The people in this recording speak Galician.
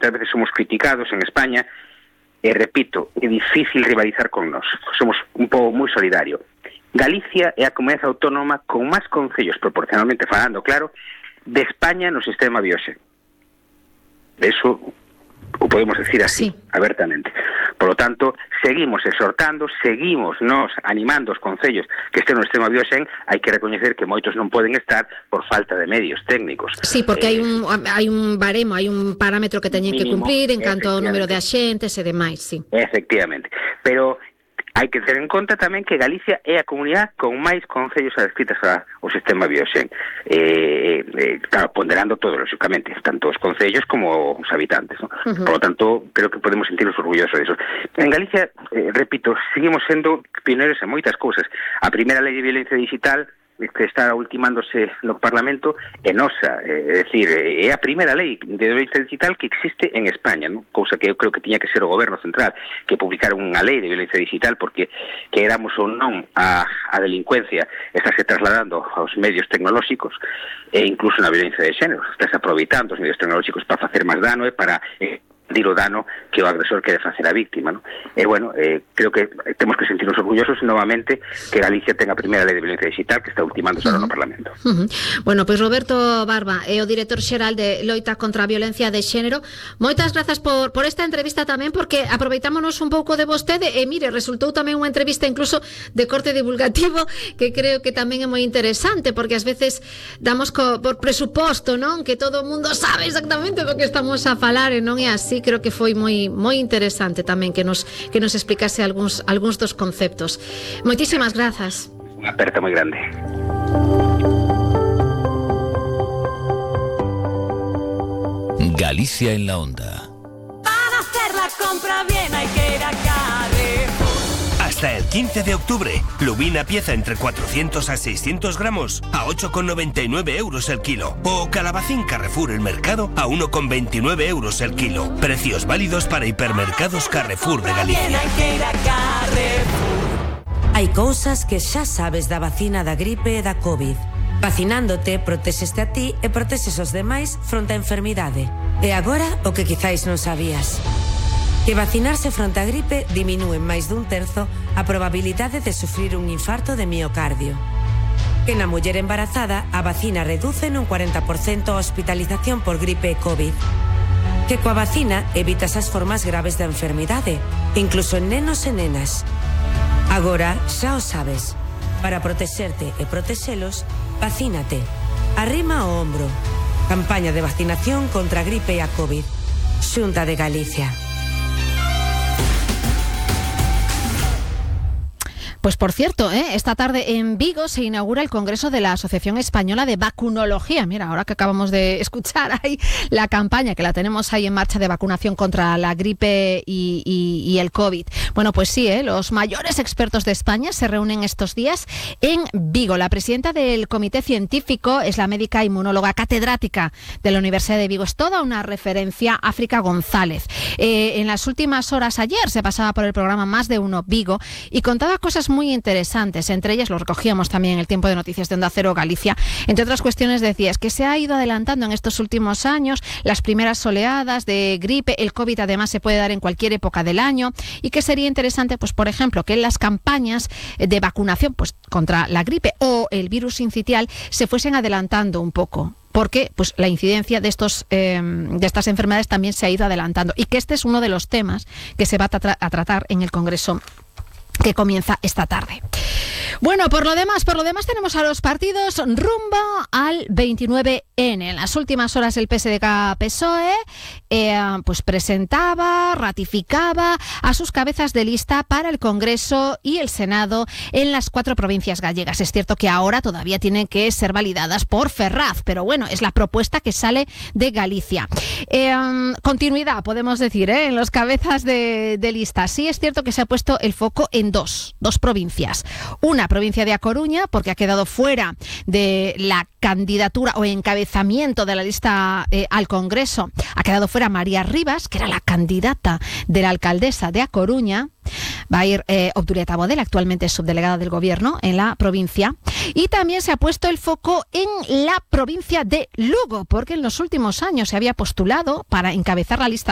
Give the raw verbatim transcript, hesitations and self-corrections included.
muchas veces somos criticados en España, e repito, é difícil rivalizar con nós. Somos un pobo moi solidario. Galicia é a comunidade autónoma con máis concellos, proporcionalmente falando, claro, de España no sistema Biosen. Eso o podemos decir así, sí, abertamente. Por lo tanto, seguimos exhortando, seguimos nos animando os concellos que estén no sistema Biosen. Hai que recoñecer que moitos non poden estar por falta de medios técnicos. Sí, porque eh, hai un hai un baremo, hai un parámetro que teñen que cumplir en canto ao número de axentes e demais, sí. Efectivamente. Pero hai que ter en conta tamén que Galicia é a comunidade con máis concellos adscritas ao sistema Biosen. Eh, eh, claro, ponderando todo, lógicamente, tanto os concellos como os habitantes, ¿no? Uh-huh. Por lo tanto, creo que podemos sentirnos orgullosos de eso. En Galicia, eh, repito, seguimos sendo pioneiros en moitas cousas. A primeira lei de violencia digital que está ultimándose no Parlamento é nosa, é dicir, é a primeira lei de violencia digital que existe en España, ¿no? Cousa que eu creo que tiña que ser o goberno central que publicara unha lei de violencia digital, porque que éramos ou non a, a delincuencia estáse trasladando aos medios tecnolóxicos e incluso na violencia de xénero, estáse aproveitando os medios tecnolóxicos para facer máis dano e para eh, dir o dano que o agresor quere facer a víctima, ¿no? E, bueno, eh, creo que temos que sentirnos orgullosos novamente que Galicia tenga a primeira lei de violencia digital que está ultimando uh-huh. no Parlamento. Uh-huh. Bueno, pois pues Roberto Barba é o director xeral de Loita contra a Violencia de Xénero. Moitas grazas por, por esta entrevista tamén, porque aproveitámonos un pouco de vostede e, mire, resultou tamén unha entrevista incluso de corte divulgativo que creo que tamén é moi interesante, porque ás veces damos co, por presuposto, non? Que todo o mundo sabe exactamente do que estamos a falar e non é así. Creo que foi moi moi interesante tamén que nos que nos explicase algúns algúns dos conceptos. Moitísimas grazas. Unha aperta moi grande. Galicia en la onda. Para hacer la compra bien hay que ir a Carrefour. Hasta el quince de octubre, lubina pieza entre cuatrocientos a seiscientos gramos a ocho con noventa y nueve euros el kilo. O calabacín Carrefour el Mercado a uno con veintinueve euros el kilo. Precios válidos para hipermercados Carrefour de Galicia. Hai cousas que xa sabes da vacina da gripe e da COVID. Vacinándote, protexeste a ti e protexes os demais fronte á enfermidade. E agora, o que quizáis non sabías. Que vacinarse fronte á gripe diminúe en máis dun terzo a probabilidade de sufrir un infarto de miocardio. Que na muller embarazada a vacina reduce nun cuarenta por cento a hospitalización por gripe e COVID. Que coa vacina evitas as formas graves da enfermidade, incluso en nenos e nenas. Agora xa o sabes. Para protexerte e protexelos, vacínate. Arrima o ombro. Campaña de vacinación contra a gripe e a COVID. Xunta de Galicia. Pues por cierto, ¿eh? esta tarde en Vigo se inaugura el Congreso de la Asociación Española de Vacunología. Mira, ahora que acabamos de escuchar ahí la campaña que la tenemos ahí en marcha de vacunación contra la gripe y, y, y el COVID. Bueno, pues sí, ¿eh? los mayores expertos de España se reúnen estos días en Vigo. La presidenta del comité científico es la médica inmunóloga catedrática de la Universidad de Vigo. Es toda una referencia, África González. Eh, en las últimas horas ayer se pasaba por el programa Más de Uno Vigo y contaba cosas muy interesantes, entre ellas lo recogíamos también en el tiempo de noticias de Onda Cero Galicia. Entre otras cuestiones decía, es que se ha ido adelantando en estos últimos años las primeras oleadas de gripe, el COVID además se puede dar en cualquier época del año y que sería interesante, pues por ejemplo, que en las campañas de vacunación pues contra la gripe o el virus sincitial se fuesen adelantando un poco, porque pues la incidencia de estos eh, de estas enfermedades también se ha ido adelantando y que este es uno de los temas que se va a, tra- a tratar en el Congreso que comienza esta tarde. Bueno, por lo demás, por lo demás tenemos a los partidos rumbo al veintinueve ene. En las últimas horas el P S D K-P S O E eh, pues presentaba, ratificaba a sus cabezas de lista para el Congreso y el Senado en las cuatro provincias gallegas. Es cierto que ahora todavía tienen que ser validadas por Ferraz, pero bueno, es la propuesta que sale de Galicia. Eh, continuidad, podemos decir, ¿eh? en los cabezas de, de lista. Sí es cierto que se ha puesto el foco en dos, dos provincias. Una provincia de A Coruña, porque ha quedado fuera de la candidatura o encabezamiento de la lista eh, al Congreso. Ha quedado fuera María Rivas, que era la candidata de la alcaldesa de A Coruña. Va a ir eh, Obdurieta Bodel, actualmente subdelegada del Gobierno en la provincia. Y también se ha puesto el foco en la provincia de Lugo, porque en los últimos años se había postulado para encabezar la lista